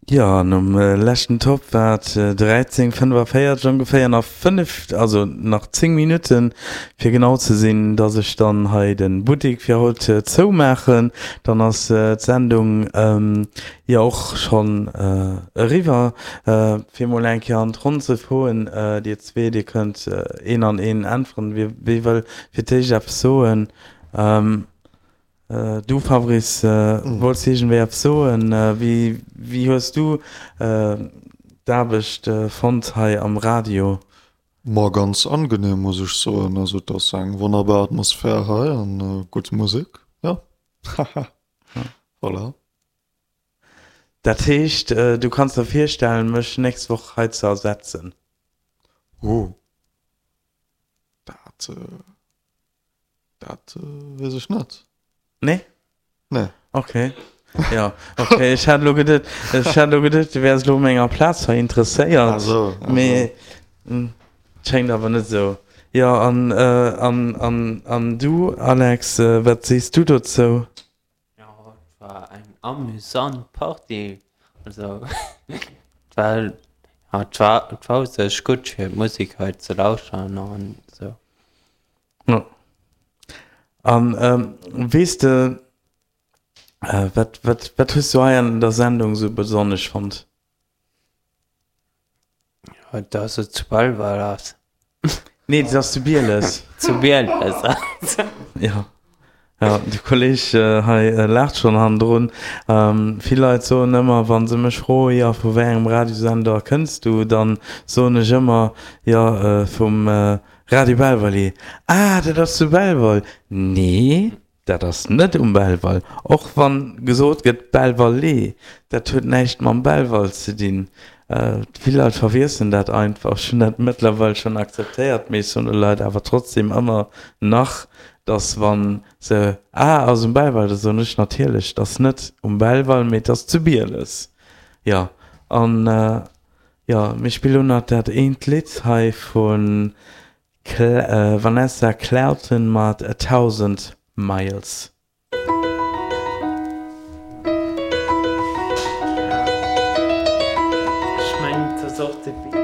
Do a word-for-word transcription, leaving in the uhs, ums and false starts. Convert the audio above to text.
Jo, nom leschten Top war et dräizéng fënnefaféierzeg ongeféier, nach fënnef, also nach zéng Minutten fir genau ze sinn, dass ech dann hei de Buttek fir haut zoumaachen. Dann ass d'Sendung jo och schonn eriwwer. Fir mol eng Kéier an d'Ronn ze froen, dir zwee, dir kënnt een an een äntweren, wie wëll fir d'éischt eppes soen? Du Fabrice, wollts de iergendwéi eppes soen? Wéi, wéi hues du d'Aarbecht fonnt hei am Radio? Ma ganz angenehm muss ech soen, also et ass eng wonnerbar Atmosphär hei an gutt Musek, jo haha voilà. Dat heescht du kanns der virstellen mech nächst Woch hei ze ersetzen? Oh dat. Dat weess ech net. Nee? Nee. Okay. Ja, okay. Ech hat elo geduet, ech hat elo geduet, du wäers elo u menger Plaz hei interesséiert. Ah sou, ah sou. Mee schéngt awer net esou. Jo, an, an, an, an du, Alex, wat sees du dozou? Jo, et war eng amüsant Partie. Also, et war, ja, et war, et war u sech gutt fir d'Musek hei ze lauschteren an esou. Jo. An weess de, wat, wat, wat hues du hei an der Sendung esou besonnesch fonnt? Jo, dass et zu Belval ass. Nee, dat ass zu Bieles. Zu Bieles ass. Jo. Jo, de Kolleg hei laacht schonn hannendrun. Vill Leit soen ëmmer, wa se mech froen, jo, vu wéi engem Radiosender kënns du, dann soen ech ëmmer, jo, vum Radio Belval. Ah, dat ass zu Belval. Nee, dat ass net um Belval. Och wann gesot gëtt Belval-Lee, dat huet näischt mam Belval ze dinn. Vill Leit verwiesselen dat einfach. Ech hunn dat mëttlerweil schonn akzeptéiert, mee ech soen de Leit awer trotzdem ëmmer nach, dass wa se, Ah, ass um Belval, da soen ech natierlech, et ass net um Belval, mee et ass zu Bieles. Jo, an jo, mir spille lo nach dat eent Lidd hei vu Vanessa Clauton mat A Thousand Miles. Ech mengen et ass och de.